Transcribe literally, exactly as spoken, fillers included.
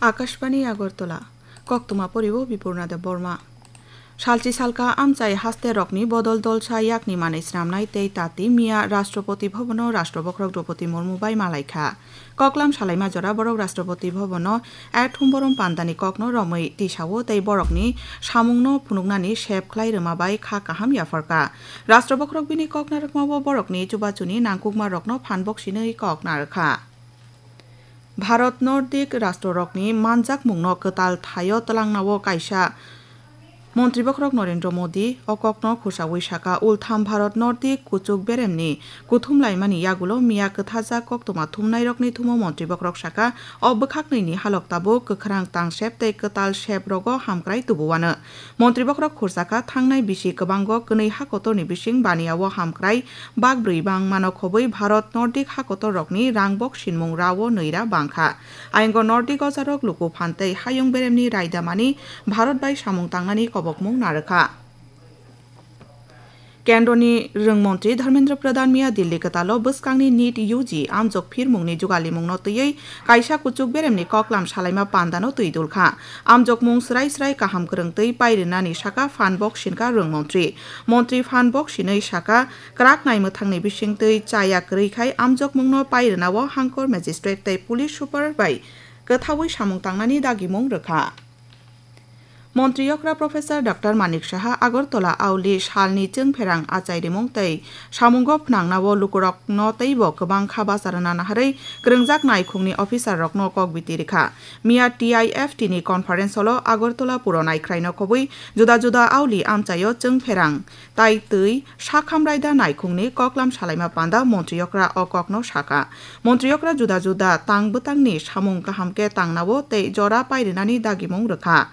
Akashbani Agartala, koktwma poribo Bipurna Debbarma. Salchi salka amchai haste rokni bodol dolsa yakni manwi snamnai tei tati miya Rashtrapati Bhavan-o Rashtra Bokhorok Droupadi Murmu bai malaikha. Koklam salaima jora borok Rashtrapati Bhavan-o Act Humborom pandani kokno romwi tisao tei borokni samungno phunuknani sep khlai rwma bai kha kaham yapharkha. Rashtra Bokhorok bini kok narwkmao borokni chubachuni nangkukma rokno phan boksinwi kok narwkha. Bharat Nordic rashtrorokni manjakmungno kwtal thaio twlangnao kaisa Montri Bokhorok Narendra Modi o kokno khursaui saka, ultham Bharat Nordic kuchuk beremni kuthum laimani yagulo miya kwthajak koktwma thumnairokni thumo Montri Bokhorok saka, o bwkhaknwini halok tabuk kwkhrang tangsep tei kwtal sep rogo hamkrai tubuwano. Montri Bokhorok khursaka thangnai bisi kwbango kwnwi hakotorni bising baniao hamkrai bak brwi bangmano khobwi Bharat Nordic hakotorrokni rangbok sinmung rao nwi ra bangkha. Ayongo Nordic ojarok luku phan tei hayung beremni raidamani Bharat bai samung tangnani kobokmung narwkha. Kendroni rwng montri Dharmendra Pradhan miya Delhi kwtalo bwskangni NEET U G amjok phirmungni jugalimungno twiwi kaisa kuchuk beremni koklam salaima pandano twi dulkha. Amjokmung srai srai kaham kwrwng twi pairinani saka phan bok sinka rwng montri. Montri phan bok sinwi saka, kwrak naimwthangni bisingtwi chaya kwrwi khai amjokmungno pairinao hangkor magistrate tei police super bai kwthaui samung tangnani dagimung rwkha. Montri okra Professor Doctor Manik Saha Agartala auli salni chwngpherang achai rimung tei samungo phnangnao lukurokno teibo kwbang kha bacha rwna naharwi kwrwngjak naikhungni officer rokno kok biti rikha. Miya T I F T ni conference hall-o Agartala puro naikhraino khobwi juda juda auli amchaio chwngpherang tai twi sakham raida naikhungni koklam salaima panda montri okra o kokno saka. Montri okra juda juda tang bwtangni samung kaham khe tangnao tei jora pairinani dagimung rwkha.